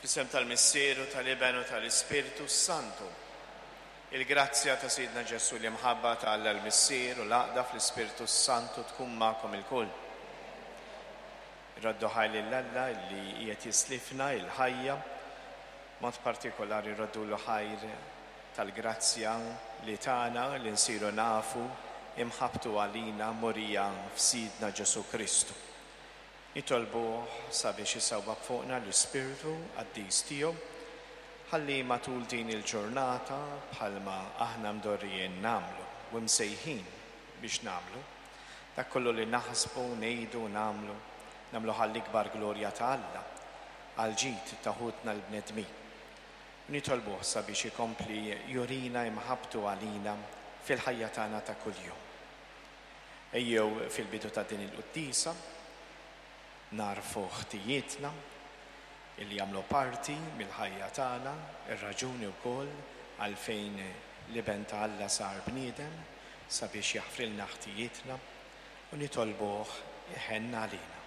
Fl-isem tal-Missier u tal-Iben u tal-Ispirtu s-Santu. Il-grazzja ta' Sidna Ġesù, l-imħabba ta' Alla l-Missier u l-għaqda fl-Ispirtu s-Santu tkun magħkom ilkoll. Irroddu ħajr lil Alla li qiegħed jislifna l-ħajja, mod partikolari rroddulu ħajr tal-grazzja li tana li nsiru nafu imħabbtu għalina murija f'Sidna Ġesù Kristu. Nitolbuh sabiex isawwab fuqna l-Ispirtu Qaddis tiegħu ħalli matul din il-ġurnata bħalma aħna mdorrijin nagħmlu u msejħin biex nagħmlu, dak kollu li naħsbu, ngħidu u nagħmlu, nagħmluh għall-ikbar glorja ta' Alla, għall-ġid ta' ħutna l-bnedmin. U nitolbuh sabiex ikompli jurina imħabbtu għalina fil-ħajja tagħna ta' kuljum. Ejjew fil-bidu ta' din il-quddiesa nagħrfu ħtijietna illi jagħmlu parti mill-ħajja tagħna, ir-raġuni wkoll għalfejn l-Iben ta' Alla sar bniedem sabiex jaħfrilna ħtijietna u nitolbuh iħenn għalina.